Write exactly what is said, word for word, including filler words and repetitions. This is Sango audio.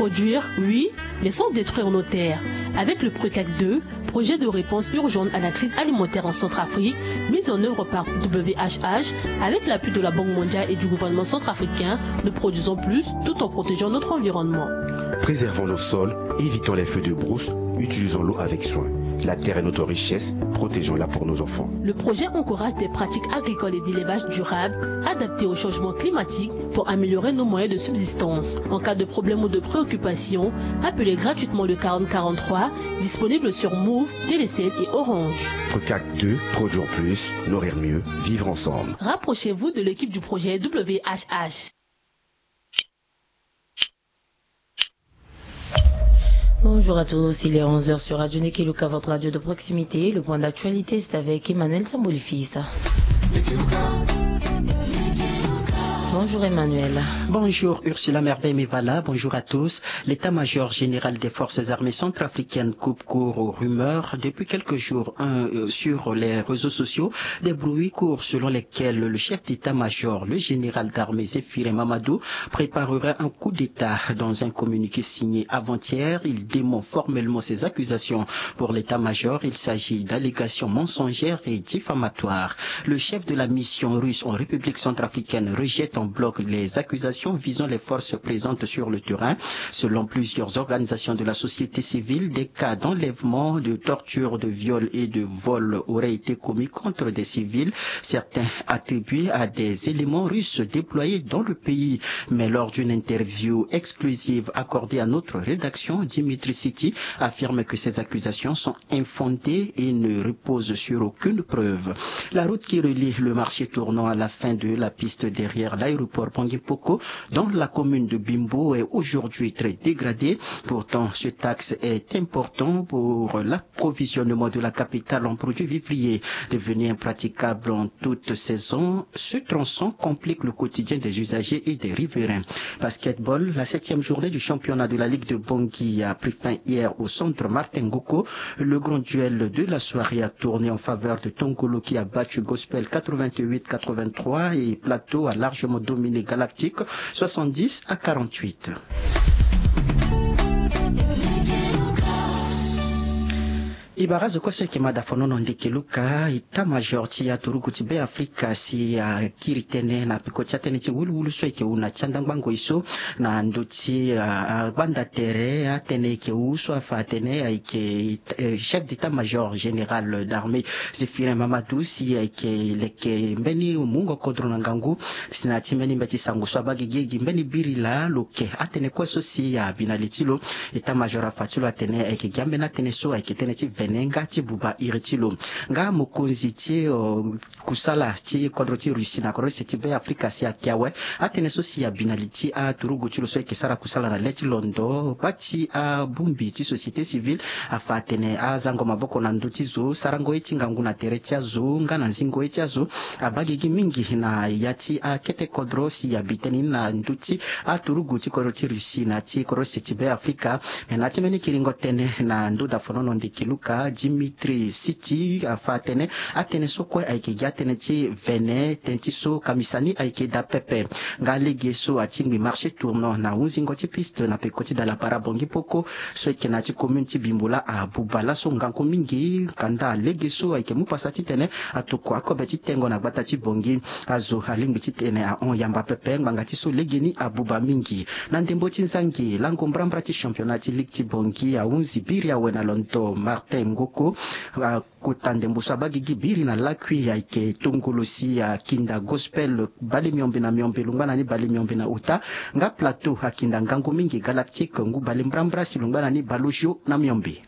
Produire, oui, mais sans détruire nos terres. Avec le PRECAC deux, projet de réponse urgente à la crise alimentaire en Centrafrique, mise en œuvre par W H H, avec l'appui de la Banque mondiale et du gouvernement centrafricain, nous produisons plus tout en protégeant notre environnement. Préservons nos sols, évitons les feux de brousse, utilisons l'eau avec soin. La terre est notre richesse, protégeons-la pour nos enfants. Le projet encourage des pratiques agricoles et d'élevage durables, adaptées au changement climatique pour améliorer nos moyens de subsistance. En cas de problème ou de préoccupation, appelez gratuitement le quarante quarante-trois, disponible sur Moov, Telecel et Orange. PRECAC deux, produire plus, nourrir mieux, vivre ensemble. Rapprochez-vous de l'équipe du projet W H H. Bonjour à tous, il est onze heures sur Radio Nikeluka, votre radio de proximité. Le point d'actualité, c'est avec Emmanuel Sambolifisa. Bonjour Emmanuel. Bonjour Ursula Merveille Mevala, bonjour à tous. L'état-major général des forces armées centrafricaines coupe court aux rumeurs. Depuis quelques jours, un, euh, sur les réseaux sociaux, des bruits courent selon lesquels le chef d'état-major, le général d'armée Zéphirin Mamadou, préparerait un coup d'État. Dans un communiqué signé avant-hier, il dément formellement ces accusations. Pour l'état-major, il s'agit d'allégations mensongères et diffamatoires. Le chef de la mission russe en République centrafricaine rejette en bloc les accusations visant les forces présentes sur le terrain. Selon plusieurs organisations de la société civile, des cas d'enlèvement, de torture, de viol et de vol auraient été commis contre des civils. Certains attribués à des éléments russes déployés dans le pays. Mais lors d'une interview exclusive accordée à notre rédaction, Dimitri Siti affirme que ces accusations sont infondées et ne reposent sur aucune preuve. La route qui relie le marché tournant à la fin de la piste derrière l'aéroport Bangui Mpoko dans la commune de Bimbo est aujourd'hui très dégradée. Pourtant, cet axe est important pour l'approvisionnement de la capitale en produits vivriers. Devenu impraticable en toute saison, ce tronçon complique le quotidien des usagers et des riverains. Basketball, la septième journée du championnat de la Ligue de Bangui a pris fin hier au centre Martin Ngoko. Le grand duel de la soirée a tourné en faveur de Tongolo, qui a battu Gospel quatre-vingt-huit quatre-vingt-trois et Plateau a largement dominé Galactique soixante-dix à quarante-huit. E bara azo kue so ayeke ma dafonono ndeke luka, état-major ti aturugu ti Be Afrika si akiri tënë na peko ti atënë ti wuluwulu so ayeke wu na ti andangbango e so, na ndö ti, ah, ah, gbanda tere. Atënë ayeke wu so afa atene ayeke, eh, chef d'état-major général d'armée Zéphirin Mamadou si ayeke leke mbeni mungo kodro na ngangu si na ya ti mbeni mbeti sango so abaa gigi gi mbeni biri laa lo ke atënë kue so si abi na li ti lo. État-major afa ti lo atene ayeke gi ambeni atënë so ayeke tënë ti vene nga ti buba iri ti lo. Nga mokonzi ti, oh, kusala ti kodro ti Russie na kodro ti se ti Be Afrika si ayeke awe atënë so si abi na li ti aturugu ti lo so ayeke sara kusala na le ti londo, baa ti abongbi ti société civile afa atene azango maboko na ndö ti zo, sarango ye ti ngangu na tere ti azo nga na nzingo ye ti azo abaa gigi mingi na ya ti akete kodro si abi tënë ni na ndö ti aturugu ti kodro ti Russie na ti kodro ti se ti Be Afrika. Me na ya ti mbeni kiringo tënë na ndö dafonono ndeke luka, Dimitri Siti afa atene atënë so kue ayeke gi atënë ti vene, tënë ti so kamisa ni ayeke daa pepe. Nga lege so atingbi marché tournant na hunzingo ti piste na peko ti dalapara Bangui Mpoko so ayeke na ya ti commune ti Bimbo laa abuba laso ngangu mingi. Kanda lege so ayeke mu pasa titene atokua akobe ti tengo na gbata ti Bangui. Azo alingbi titene ahon yamba pepe ngbanga ti so legeni abuba mingi. Na ndembo ti nzangi, lango mbrambra ti championnat ti ligue ti Bangui ahunzi biri awe na londo Martin Ngoko. Akota ndembo so abaa gigi biri na lakui ayeke Tongolo si akinda Gospel bale miombe na miombe, lungba na ni bale miombe na ota. Nga Plateau akinda ngangu mingi Galactique ngu bale mbrambra si lungba na ni bale ojio na miombe.